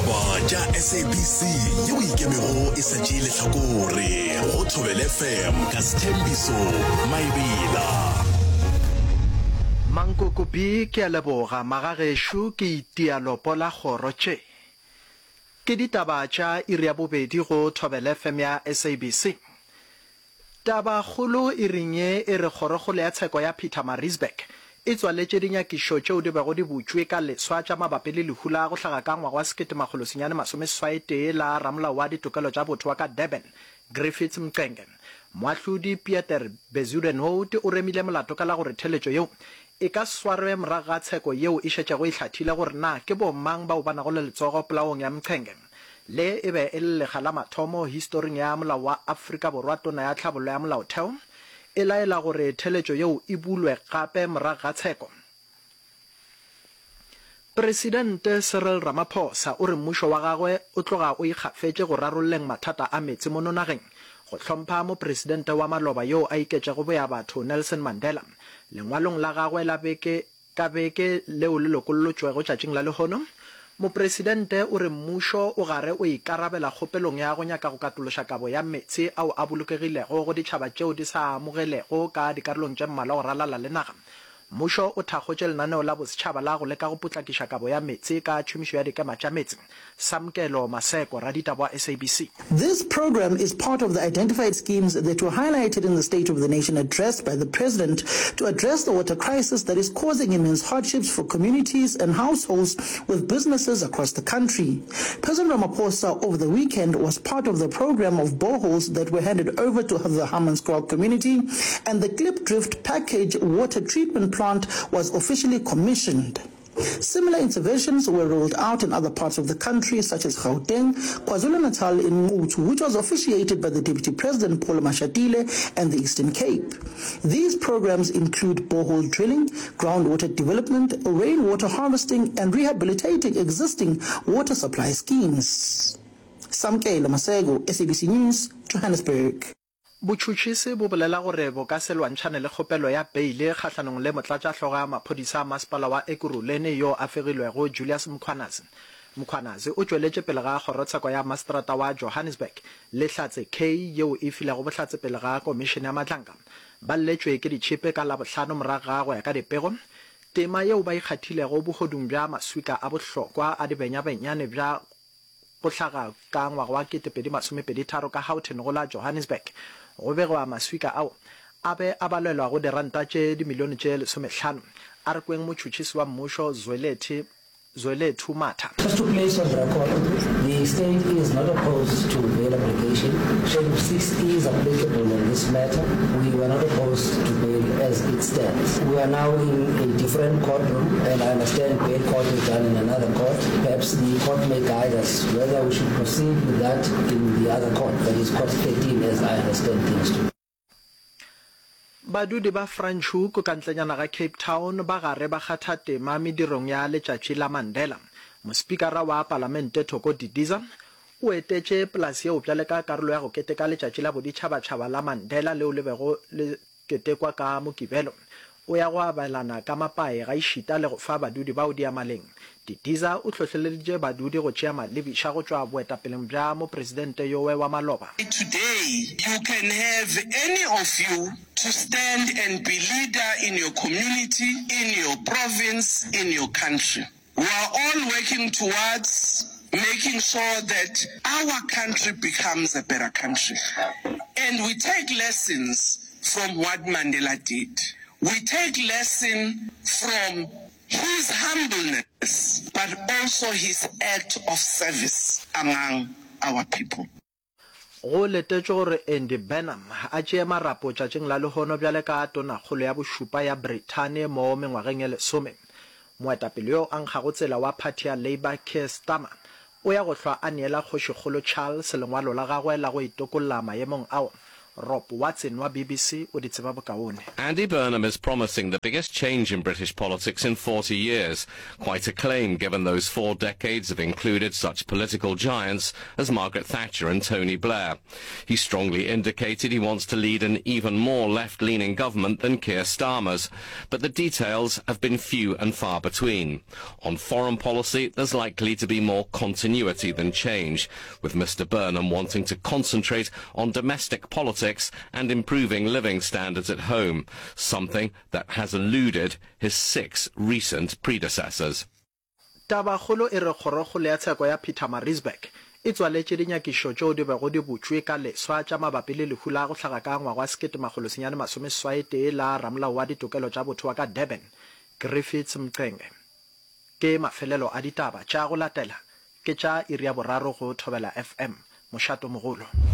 Ditaba tša SABC yeo e ikemego e sa tšee lehlakore go Thobela FM ka Sthembiso Maebela. Mankoko B Ke a leboga magagešo ke itia lopo la kgoro tše. Ke ditaba tša iri ya bobedi go Thobela FM ya SABC. Tabakgolo iring ye e re Kgorokgolo ya Tsheko ya Pietermaritzburg e tswaletše dinyakišo tšeo di bego di butšwe ka leswa tša mabapi le lehu la go hlaga ka ngwaga wa 1981 la ramolao wa ditokelo tša botho wa ka Durban, Griffiths Mxenge. Moahlodi Pieter Bezuidenhout o remile molato ka la gore theletšo yeo e ka swarwe morago ga tsheko yeo e šetšego e hlathile gore na ke bomang bao ba nago le letsogo polaong ya Mxenge. Le e be e le lekga la mathomo historing ya molao wa Afrika Borwa Tona ya Tlhabollo ya Molaotheo e laela gore theletšo yeo e bulwe gape morago ga tsheko. Presidente Cyril Ramaphosa o re mmušo wa gagwe o tloga o ikgafetše go rarolleng mathata a meetse mono nageng go hlompha mopresidente wa maloba yoo a iketšego boyabatho Nelson Mandela. Lengwalong la gagwe la beke Ka beke leo le lokollotšwego tšatšing la lehono, Mopresidente o re mmušo o gare o ikarabela kgopelong ya go nyaka go katološa kabo ya meetse ao a bolokegilego go ditšhaba tšeo di sa a amogelego ka dikarolong tše mmalwa go ralala le naga. Mmušo o thakgotše lenaneo la bosetšhaba la go leka go potlakiša kabo ya meetse ka tšhomišo ya dikema tša meetse. Samkelo Maseko, raditaba wa SABC. This program is part of the identified schemes that were highlighted in the State of the Nation address by the President to address the water crisis that is causing immense hardships for communities and households with businesses across the country. President Ramaphosa over the weekend was part of the program of boreholes that were handed over to the Hammanskraal community and the Klipdrift package water treatment plant was officially commissioned. Similar interventions were rolled out in other parts of the country such as Gauteng, KwaZulu-Natal in Nquthu, which was officiated by the Deputy President Paul Mashatile and the Eastern Cape. These programs include borehole drilling, groundwater development, rainwater harvesting and rehabilitating existing water supply schemes. Samkelo Maseko, SABC News, Johannesburg. Botšhotšhisi bo bolela gore bo ka se lwantšhane le kgopelo ya beile kgahlanong le motlatšahlogo ya maphodisa a masepala wa Ekurhuleni yo a fegilwego Julius Mkhwanazi. Mkhwanazi o tšweletše pele ga kgorotsheko ya maseterata wa Johannesburg le Hlatse Kay yeo e filego bohlatse pele ga komišene ya Madlanga. Ba lletšwe ke ditšhipe ka Labohlano morago ga go ya ka dipego tema yeo ba ikgathilego bohodung bja maswika a bohlokwa a dibenyabenyane bja Go hlaga ka ngwaga wa 2023 ka Houghton go la Johannesburg, go begwa maswika ao a be a balelwa go diranta tše dimilione tše lesomehlano. A re kweng motšhotšhisi wa mmušo Zwelethu Zwelethu Matha. Just to place on record, the state is not opposed to bail application. Schedule 6 is applicable in this matter. We were not opposed to bail as it stands. We are now in a different courtroom and I understand bail court is done in another court. Perhaps the court may guide us whether we should proceed with that in the other court, that is court 13 as I understand things to be. Badudi ba Franschhoek ka ntlenyana ga Cape Town ba gare ba kgatha tema medirong ya Letšatši la Mandela. Mospikara wa Palamente Thoko Didiza o etetše polase yeo bjale ka karolo ya go keteka Letšatši la Boditšhabatšhaba la Mandela leo le bego le ketekwa ka Mokibelo. O ya go abelana ka mapae gaešita le go fa badudi bao diamaleng. Didiza o hlohleleditše badudi go tšea malebiša go tšwa boetapeleng bja mopresidente yowe wa maloba. Today you can have any of you to stand and be leader in your community, in your province, in your country. We are all working towards making sure that our country becomes a better country and we take lessons from what Mandela did. We take lesson from his humbleness but also his act of service among our people. Go letetšwe gore Andy Burnham a tšee marapo tšatšing la lehono bjale ka tonakgolo ya bošupa ya Brithani mo mengwageng e lesome. Moetapele yo a nkgago tsela wa phathi ya Labour Keir Starmer o ya go hlwa a neela Kgošikgolo Charles lengwalo la gagwe la go itokolla maemong ao. Rob Watson wa BBC o di tseba bokaone. Andy Burnham is promising the biggest change in British politics in 40 years. Quite a claim given those four decades have included such political giants as Margaret Thatcher and Tony Blair. He strongly indicated he wants to lead an even more left-leaning government than Keir Starmer's, but the details have been few and far between. On foreign policy, there's likely to be more continuity than change, with Mr Burnham wanting to concentrate on domestic politics and improving living standards at home, something that has eluded his six recent predecessors. Tabakgolo e re Kgorokgolo ya Tsheko ya Pietermaritzburg e tswaletše dinyakišo tšeo di bego di butšwe ka leswa tša mabapi le lehu la go hlaga ka ngwaga wa 1981 la ramolao wa ditokelo tša botho wa ka Durban, Griffiths Mxenge. Ke mafelelo a ditaba tša go latela ke tša iri ya boraro go Thobela FM, mošatomogolo.